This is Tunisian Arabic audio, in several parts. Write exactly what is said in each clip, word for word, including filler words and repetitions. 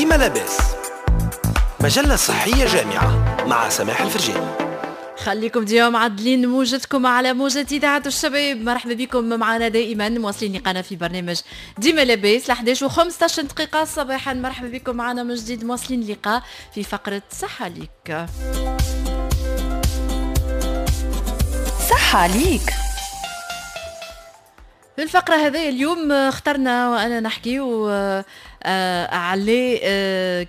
ديما لاباس، مجلة صحية جامعة مع سماح الفرجاني. خليكم ديما معدلين موجتكم على موجة إذاعة الشباب. مرحبا بكم معنا دائما، مواصلين لقانا في برنامج ديما لاباس ل إحداش وخمسطاش دقيقة صباحا. مرحبا بكم معنا من جديد، مواصلين لقاء في فقرة صحة ليك. صحة ليك. في الفقرة هذه اليوم اخترنا وأنا نحكي على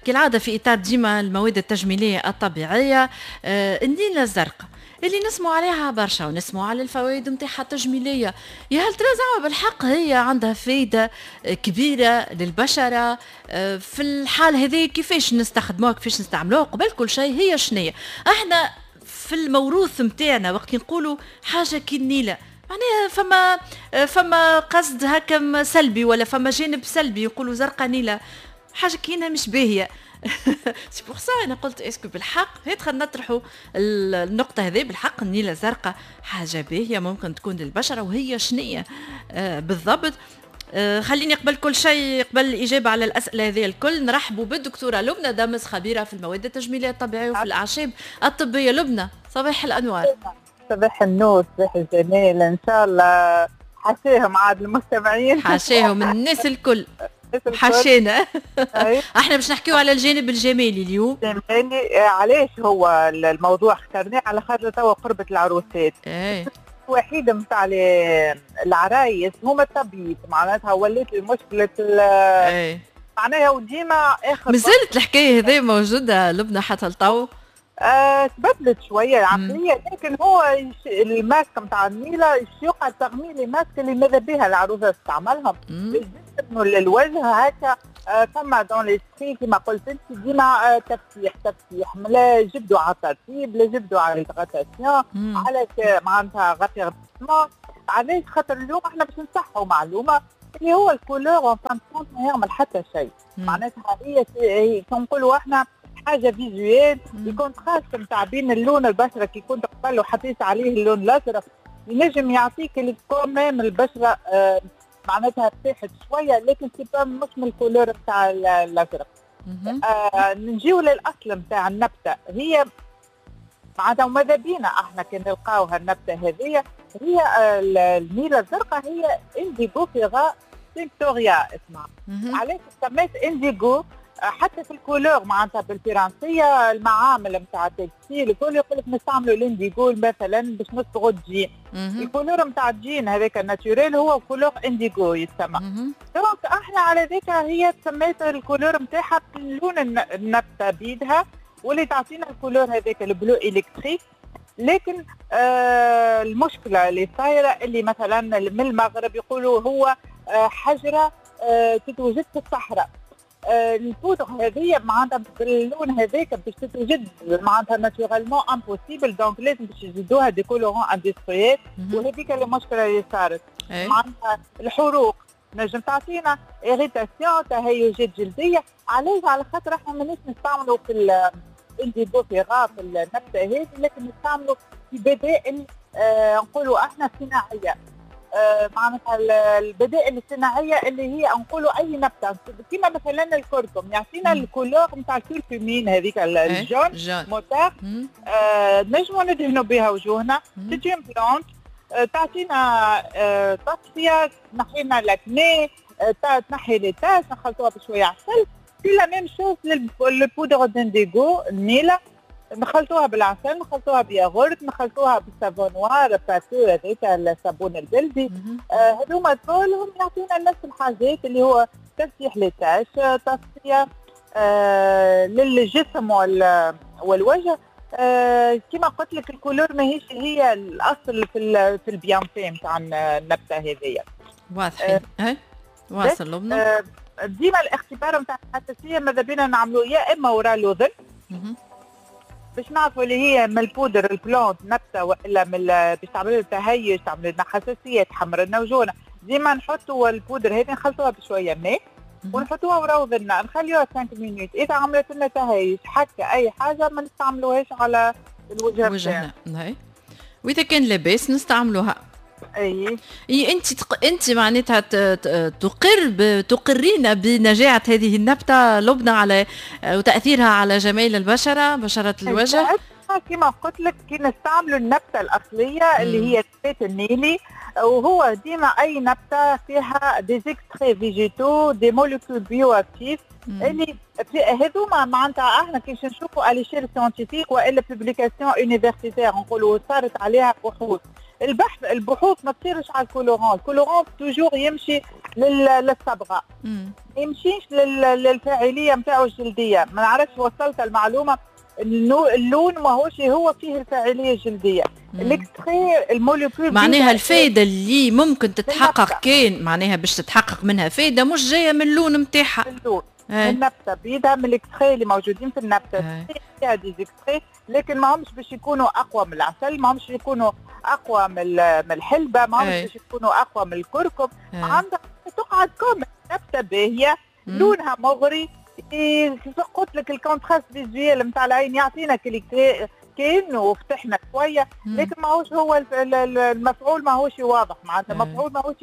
كالعادة في إطار ديما المواد التجميلية الطبيعية، النيلة الزرقاء اللي نسمع عليها برشا ونسمع على الفوائد نتاعها التجميلية. يا هل ترى زعما بالحق هي عندها فايدة كبيرة للبشرة؟ في الحال هذه كيفاش نستخدموها، كيفاش نستعملوها؟ قبل كل شيء هي شنية؟ احنا في الموروث نتاعنا وقت نقولوا حاجة كي النيلة معناها فما فما قصد هكا سلبي ولا فما جانب سلبي، يقولوا زرقاء نيله حاجة كينها مش باهيه. c'est pour ça انا قلت est-ce que بالحق هات خلينا نطرحوا النقطة هذه، بالحق النيله الزرقاء حاجة باهيه ممكن تكون للبشره، وهي شنية آه بالضبط؟ آه خليني قبل كل شيء، قبل الاجابة على الاسئلة هذه الكل، نرحبوا بالدكتورة لبنى دامس، خبيرة في المواد التجميلية الطبيعية وفي الاعشاب الطبية. لبنى صباح الانوار. صباح النور، صباح الجمال، ان شاء الله حاشاهم عاد المستمعين، حاشاهم الناس الكل، حاشينا. احنا باش نحكيو على الجانب الجمالي اليوم. الجمالي علاش هو الموضوع اخترناه؟ على خاطر توا قربة العروسات. ايه الوحيدة نتاع العرايس هما التبييض، معناتها ولات المشكلة ايه معناها وديما اخر. مازالت الحكاية هذه موجودة لبنى حتى لتو؟ آه، تبدلت شوية العقلية، لكن هو الماسك نتاع النيله يقعد تغميل ماسك اللي ماذا بها العروسة تستعملهم للجسم وللوجه هكا. آه، فما dans l'esprit كيما قلت انت ديما آه، تفتيح تفتيح، لا جبدوا على الترطيب، لا جبدوا على l'hydratation، على معناتها raffermissement. علاش؟ خاطر اليوم احنا باش نصحوا معلومة اللي هو ال couleur en fin de compte ما يعمل حتى شيء، معناتها هي كي نقولوا احنا حاجة visuelle، ال contraste نتاع بين اللون البشرة كي كنت قبل وحطيت عليه اللون الازرق ينجم يعطيك اللي quand même البشرة آه معناتها ارتاحت شوية، لكن c'est pas مش من ال couleur نتاع الازرق. آه نجيو للاصل نتاع النبتة، هي معناتها وماذا بينا احنا كي نلقاوها النبتة هذه، هي النيله الزرقاء، هي Indigofera tinctoria اسمها. علاش سميت انديغو؟ حتى في ال couleur معناتها بالفرنسيه المعامل نتاع ال textile الكل يقول لك نستعملوا الانديغو مثلا باش نصبغوا ال jean. ال couleur نتاع الجين هذاك ال naturel هو couleur indigo يتسمى. donc احنا على ذاك هي تسميت ال couleur نتاعها بلون النبتة بيدها، واللي تعطينا ال couleur هذاك ال bleu électrique. لكن آه المشكلة اللي صايرة اللي مثلا من المغرب يقولوا هو آه حجره آه تتوجد في الصحراء. البودر هذه معناتها باللون هذاك باش تتوجد معناتها naturellement impossible، donc لازم باش يزيدوها des colorants industriels، وهذيك المشكلة اللي صارت. معناتها الحروق نجم تعطينا irritation، تهيجات جلدية. علاش؟ على خاطر احنا ماناش نستعملوا في ال Indigofera في النبتة هذه، لكن نستعملوا في بدائل آه نقولوا احنا صناعية. آه معناتها البدائل الصناعية اللي هي نقولوا اي نبته كيما مثلا الكركم يعطينا ال couleur نتاع الكركمين هذيك ال jaune moutarde، آه نجموا ندهنوا بها وجوهنا. c'est une plante آه تعطينا آه تصفية، تنحي لنا l'acné، آه تنحي les taches، نخلطوها بشوية عسل. c'est la même chose لل poudre d'indigo النيله، نخلطوها بالعسل، نخلطوها بياغورت، نخلطوها بال savon noir pâteux هذاك الصابون البلدي. آه هذوما كلهم يعطينا نفس الحاجات اللي هو تفتيح les taches، تصفية آه للجسم والوجه. آه كما قلت لك ال couleur ماهيش هي الاصل في في ال bienfait نتاع النبتة هذيا. واضحين. آه واصل لبنى. آه ديما الاختبار نتاع الحساسية ماذا بينا نعملوه يا اما وراء الاذن باش نعرفوا اللي هي من ال poudre ال plante نبته والا من باش تعمل لنا تهيج، تعمل لنا حساسية، تحمر لنا وجوهنا. ديما نحطوا البودر هذه نخلطوها بشوية ماء ونحطوها ورا وذنا، نخليوها خمسة minutes. اذا عملت لنا تهيج حكه اي حاجة ما نستعملوهاش على الوجه وجهنا. واذا كان لاباس نستعملوها. اي اي انت تق... انت معناتها تقر ب... تقرين بنجاعه هذه النبتة لبنى على وتاثيرها على جمال البشرة، بشره الوجه. كما قلت لك كي نستعملوا النبتة الاصلية اللي هي النبات النيلي، وهو ديما اي نبته فيها des extraits végétaux des molécules bioactives اللي هذوما معناتها احنا كي نشوفوا à l'échelle scientifique والا publication universitaire نقولوا صارت عليها بحوث. البحث البحوث ما تصيرش على ال colorant، ال colorant toujours يمشي للصبغه، ما يمشيش للفاعليه نتاعو الجلدية. ما نعرفش وصلت المعلومة، اللون ماهوش هو فيه الفاعلية الجلدية، l'extrait ال molécule معناها الفائدة اللي ممكن تتحقق كان معناها باش تتحقق منها فائدة مش جاية من اللون نتاعها، اللون من النبتة بيدها، من l'extrait اللي موجودين في النبتة فيها des extraits، لكن ما همش باش يكونوا اقوى من العسل، ما همش يكونوا اقوى من من الحلبة، ما همش باش يكونوا اقوى من الكركم. عندها تقعد comme نبته باهيه لونها مغري، قلت لك ال contraste visuel نتاع العين يعطينا كأنه وفتحنا شوية، لكن ماهوش هو المفعول ماهوش واضح، معناتها المفعول ماهوش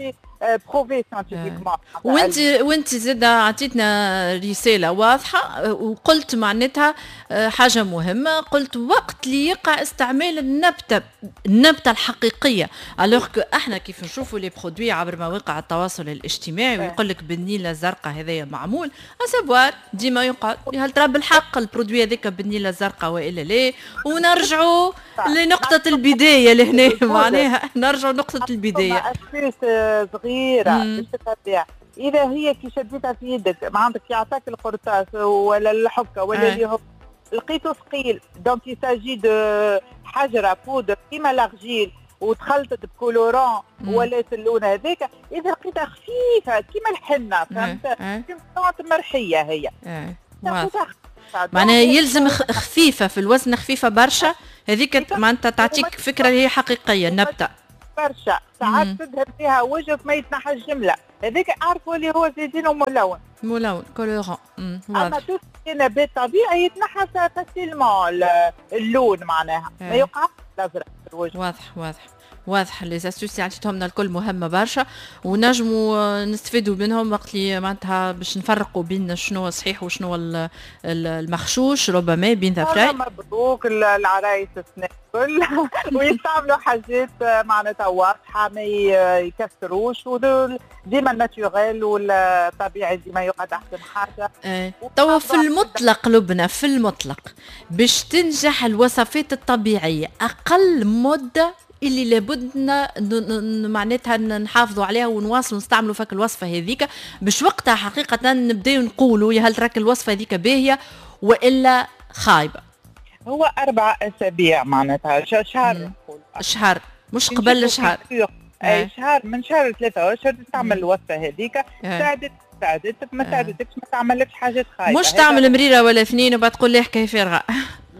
prouvé scientifiquement. وانت وانت زاد عطيتنا رسالة واضحة وقلت معناتها حاجة مهمة، قلت وقت اللي يقع استعمال النبتة النبتة الحقيقية، alors que احنا كيف نشوفوا les produits عبر مواقع التواصل الاجتماعي ويقول لك بالنيله الزرقاء هذايا معمول، à savoir ديما يقعد هل ترى بالحق ال produit هذاك بالنيله الزرقاء والا لا؟ ونرجعوا لنقطة البداية لهنا، معناها نرجعوا لنقطة البداية. صغيرة باش تتبع، اذا هي كي شديتها في يدك ما عندك يعطاك القرطاس ولا الحكة ولا اللي هو لقيته ثقيل، donc il s'agit de حجره بودر كيما l'argile وتخلطت ب colorant ولات اللون هذاك. اذا لقيتها خفيفة كيما الحنة، فهمت، كيما مرحيه هي معناها يلزم خفيفة في الوزن، خفيفة برشا، هذيك معناتها تعطيك فكرة هي حقيقية النبتة برشا. ساعات تذهب فيها وجهك ما يتنحى الجملة، هذاك عارفوا اللي هو زيدينه ملون ملون colorant. اما tout نبات طبيعي يتنحى facilement اللون، معناها ما يقعش الازرق في الوجه. واضح واضح واضح. les astuces اللي عطيتهم لنا الكل مهمة برشا ونجموا نستفيدوا منهم وقت اللي معناتها باش نفرقوا بين شنو صحيح وشنو المغشوش ربما بين ظفرين. مبروك العرايس السنة الكل ويستعملوا حاجات معناتها واضحة ما يكسروش، وديما ال naturel والطبيعي ديما يقعد احسن حاجة. ايه. توا في المطلق لبنى، في المطلق باش تنجح الوصفات الطبيعية اقل مده اللي لابد معناتها نحافظوا عليها ونواصلوا نستعملوا فك الوصفة هذيك باش وقتها حقيقة نبداو نقولوا يا هل تراك الوصفة هذيك باهيه والا خايبة. هو اربع اسابيع معناتها شهر، شهر مش قبل شهر، اي شهر، من شهر ثلاثة اشهر تستعمل الوصفة هذيك، ساعدت ساعدتك ما ساعدتكش ما تعملكش حاجات خايبة، مش تعمل مريرة ولا اثنين وبعد تقول لي حكاية فارغة.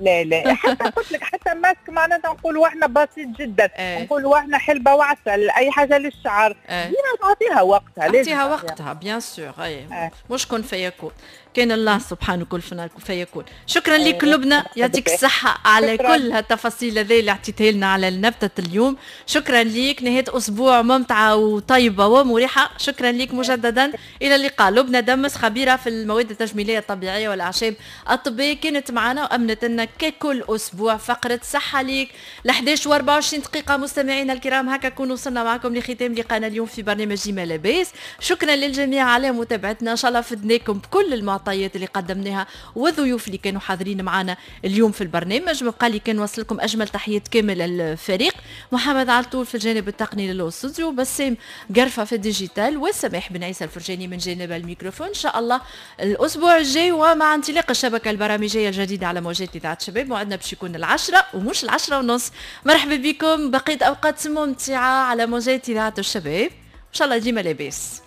لا لا حتى قلت لك حتى ماسك معناتها نقولوا احنا بسيط جدا، نقولوا احنا حلبة وعسل، اي حاجة للشعر ديما تعطيها وقتها، لازم تعطيها وقتها bien sûr. اي مش كن فيكون، كان الله سبحانه كل فيكون. شكرا لك لبنى، يعطيك الصحة على كل هالتفاصيل هذه اللي عطيتها لنا على النبتة اليوم. شكرا لك، نهاية أسبوع ممتعة وطيبة ومريحة. شكرا لك مجددا، إلى اللقاء. لبنى دمس خبيرة في المواد التجميلية الطبيعية والأعشاب الطبية كانت معنا وأمنت لنا ككل أسبوع فقرة صحة ليك ل إحداش وأربعة وعشرين دقيقة. مستمعينا الكرام، هكا كون وصلنا معكم لختام لقانا اليوم في برنامج ما لاباس. شكرا للجميع على متابعتنا، إن شاء الله فدناكم بكل المعطيات اللي قدمناها والضيوف اللي كانوا حاضرين معنا اليوم في البرنامج. بقى لي كان وصل لكم اجمل تحيات كامل الفريق، محمد علطول في الجانب التقني للاستوديو، بسام قرفه في ال digital، وسماح بن عيسى الفرجاني من جانب الميكروفون. ان شاء الله الاسبوع الجاي ومع انطلاق الشبكة البرامجيه الجديدة على موجات اذاعة شباب، موعدنا باش يكون العشرة ومش العشرة ونص. مرحبا بكم، بقية اوقات ممتعة على موجات اذاعة الشباب، ان شاء الله ديما لاباس.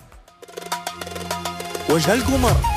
وجه القمر.